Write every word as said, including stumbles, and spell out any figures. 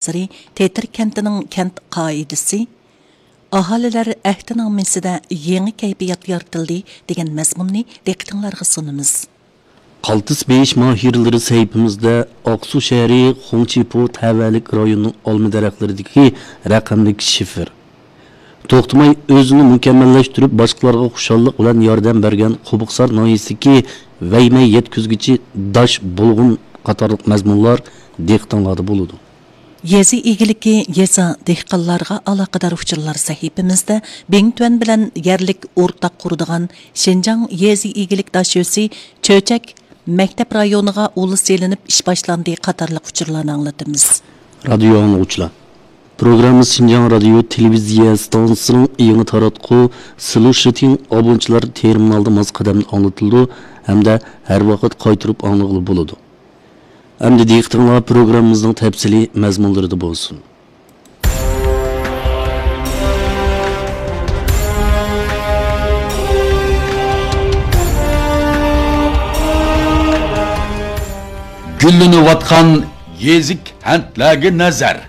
نازىرى تېتىر كەنتىنىڭ كەنت قائىدىسى، ئاھالىلەر ئەھدىنامىسىدە يېڭى كەيپىيات يارىتىلدى دېگەن مەزمۇننى دىققىتىڭلارغا سۇنىمىز. قالتىس بېيىش ماھىرلىرى سەھىپىمىزدە ئاقسۇ شەھىرى خۇڭچىپو تەۋەلىك رايونىنىڭ ئالما دەرەخلىرىدىكى رەقەملىك شىفېر. توختىماي ئۆزىنى مۇكەممەللەشتۈرۈپ، باشقىلارغا خۇشاللىق بىلەن ياردەم بەرگەن قوبۇقسار ناھىيەسىدىكى ۋەيمەي يەتكۈزگۈچى داش بۇلغۇن قاتارلىق مەزمۇنلار دىققىتىڭلاردا بولىدۇ. يېزا ئىگىلىكى، يېزا، دېھقانلارغا ئالاقىدار ئۇچۇرلار سەھىپىمىزدە بىڭتۈەن بىلەن يەرلىك ئورتاق قۇرىدىغان شىنجاڭ يېزا ئىگىلىك داشۆسى چۆچەك مەكتەپ رايونىغا ئۇل سېلىنىپ ئىش باشلاندى قاتارلىق ئۇچۇرلارنى ئاڭلىتىمىز. رادىيو ئاڭلىغۇچىلار، پروگراممىمىز شىنجاڭ رادىيو تېلېۋىزىيە ئىستانسىسىنىڭ يېڭى تاراتقۇ سلۇشىتىڭ ئابۇنچىلار تېرمىنالدا ماس قەدەمدە ئاڭلىتىلىدۇ ھەمدە ھەر ۋاقىت قايتۇرۇپ ئاڭلىغىلى بولىدۇ. ئەمدى دىققىتىڭلار پروگراممىمىزنىڭ تەپسىلىي مەزمۇنلىرىدا بولسۇن. گۈللىنىۋاتقان يېزا كەنتلەرگە نەزەر.